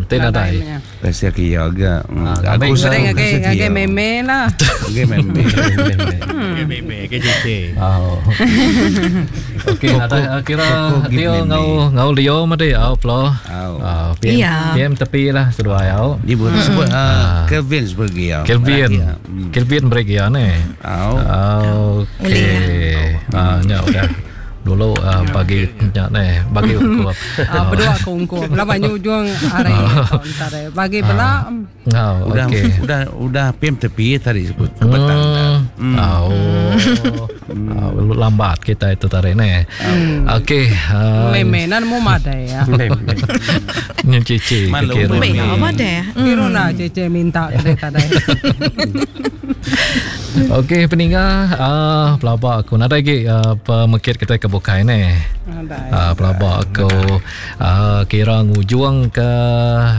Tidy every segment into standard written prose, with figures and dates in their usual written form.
Ti nadai. Kasih ke iya ga. Aku selalu kasih ke iya. Ngagai meme lah. Ngagai meme. Ngagai meme ke JK. Oh. Okey, nadai kira dia ngau ngau Leo madi au plo. Au. PM PM tepi lah seduai au. Dia boleh sebut Kelvin sebagai iya. Kelvin. Kelvin beri iya ni. Au. Okey. Ah nya udah. Dulu uh, bagi nya neh bagi ungkup. Ah berdua ke ungkup. Lama nyu ujung hari entar. Bagi bela. Oh, udah okay. udah udah PM tepi tadi sebut petang. Hmm. Oh. Hmm. lambat kita itu tadi neh. Hmm. Okey. Uh, Meme nan mu madai ya. Nyu cici kira. Meme madai. Kira na cici minta tadi tadi. Okey peninga uh, pelaba aku nadai agi uh, pemekit kita ke bukai ne. Uh, pelaba aku uh, kira ngujung ke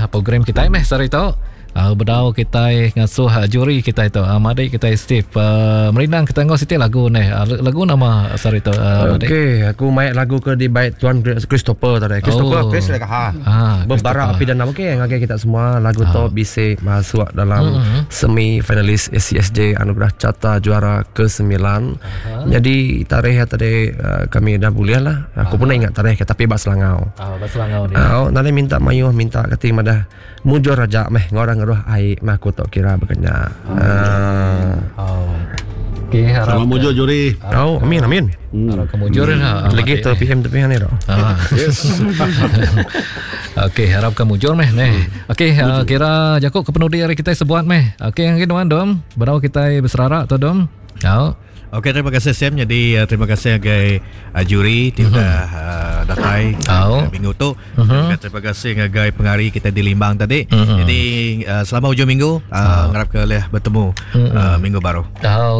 program kita meh sehari tu. Uh, bedau kita ngasuh uh, juri kita itu uh, madik kita Steve uh, merindang kita ngau siti lagu ne. Uh, lagu nama sehari tu uh, madik. Okey, aku mai lagu ke dibaik Tuan Christopher tadi. Christopher oh. Chris lagi ha. Ah, Bebara api dendam okey ngagai kita semua lagu ah. tu bisi masuk dalam mm-hmm. semi finalis ACSJ Anugerah Carta Juara ke-9. Uh-huh. Jadi tarikh ya tadi uh, kami dah boleh lah. Aku uh-huh. pun ingat tarikh tapi bak Selangau. Ah, bak Selangau ni. Ah, nanti minta mayuh minta kati madah mujur aja meh ngorang ngeruh ai meh aku tok kira bekenya. Uh. Oh. Okey, harap Sama mujur juri. Oh, amin amin. Hmm. Harap kemujur hmm. lah. Lagi tu PM tu PM ni ro. Ah. Yes. Okey, harap kemujur meh neh. Hmm. Okey, uh, kira jaku ke penudi hari kita sebuat meh. Okey, yang nuan dom. Berau kita berserarak tu dom. Au. Okey, terima kasih Sam. Jadi uh, terima kasih ngagai uh, juri ti udah uh, datai uh, minggu tu. Uh-huh. Terima kasih ngagai pengari kita di Limbang tadi. Uh-huh. Jadi uh, selama hujung minggu uh, uh. ngarap ke leh bertemu uh-huh. uh, minggu baru.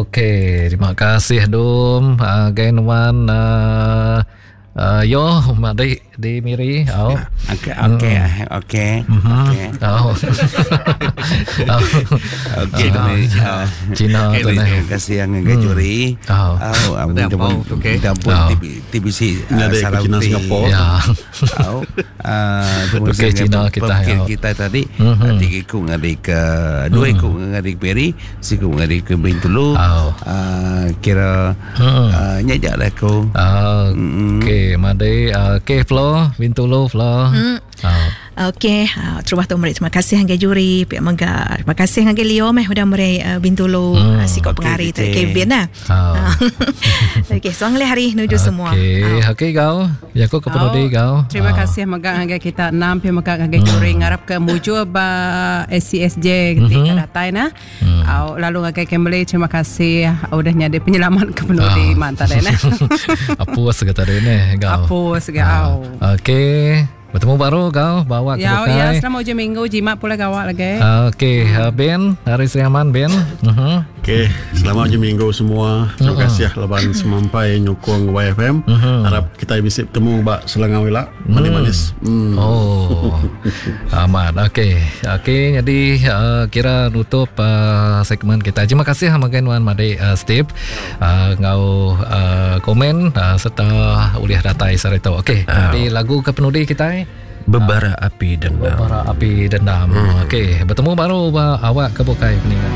Okey, terima kasih Dum. Uh, Gai nuan uh, Uh, yo, di di Miri. Oh. Okey, okey, okey. Okey. Oh. Okey, Cina tu ni. Terima kasih yang dengan juri. Oh. Oh, minta pun minta pun TBC Cina Singapura. Ya. Oh. Okey, Cina kita kita tadi tiga ikut ngadik ke dua ikut ngadik Miri, siku ngadik ke Bintulu. Kira nyajak lah aku. Okey, madi okey Flo, Bintulu Flo. Okey, terubah tu meri terima kasih ngagai juri pia mega. Terima kasih ngagai Leo meh udah meri uh, Bintulu uh, sikok Okey, pengari tu okey. Kevin lah. Okey, so ngelih hari nuju semua. Okey, okey kau. Ya aku ke penudi kau. Terima kasih mega ngagai kita enam pia mega ngagai juri ngarap ke mujur ba SCSJ ketika datai nah. Au lalu ngagai Kimberly terima kasih udah nyadi penyelamat ke penudi mantap deh nah. Apus ke tadi ni kau. Apus ke au. Okey, bertemu baru kau bawa ke Ya, ya, bukai. selama hujung minggu jimat pula gawak lagi. Okey, Ben, hari Sri Aman Ben. Mhm. Okey, selamat hujung minggu semua. Terima kasih laban semampai nyukung YFM. Harap kita bisa bertemu bak Selangau ila. Manis-manis. Hmm. Oh. Amat. Okey. Okey, jadi uh, kira nutup uh, segmen kita. Terima kasih makan Wan Madik uh, Steve uh, ngau uh, komen uh, serta uliah datai sarito. Okey, jadi lagu ke penudi kita Bebara api dendam. Bebara api dendam. Okey, bertemu baru ba awak ke bukai peningan.